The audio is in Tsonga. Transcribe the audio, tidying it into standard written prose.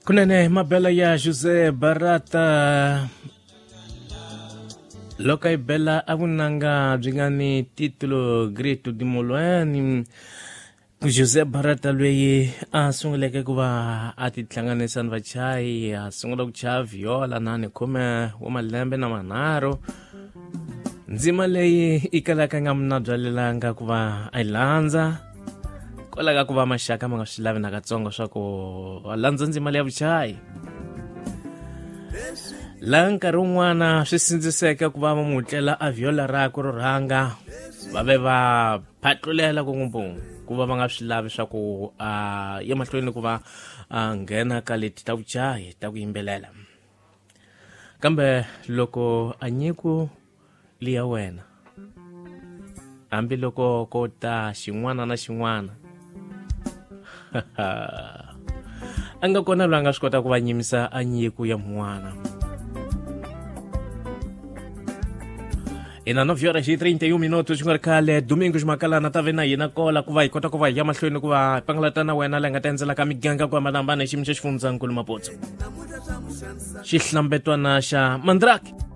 Kunene mabela ya José Barata loko a yi bela a vunanga byi nga ni titulo Grito di Molweni. José Barata loyi a sunguleke ku va a tihlanganisa ni vachayi, a sungula ku chaya viola na ni khume wa malembe na manharhu. Ndzima leyi i kalaka nga mna byalelanga ku va a yi landza kwalaho ka ku va maxaka ma nga swi lavi nakatsongo swa ku va landza ndzima leya vuchayi, laha nkarhi wun'wana swi sindziseke ku va va n'wi tlela a viola rakwe ro rhanga, va ve va phatlulela ku ngopfu ku va va nga swi lavi swa ku a ya mahlweni ku va a nghena ka leti ta vuchayi ta ku yimbelela. Kambe loko a nyiko liya wena, hambiloko ko ta xin'wana na xin'wana, a nga kona loyi a nga swi kota ku va nyimisa a nyiko ya mun'wana. Ina 9 horas e 31 minutos, ku nga ri khale Domingos Makalana ta ve na yina kola ku va hi kota ku va hi ya mahlweni ku va hi pangalata na wena leyi nga ta endzelaka miganga ku hambanahambana hi xiyimo xa xifundzankulu Maputsu, xihlambetwana xa Mandrake.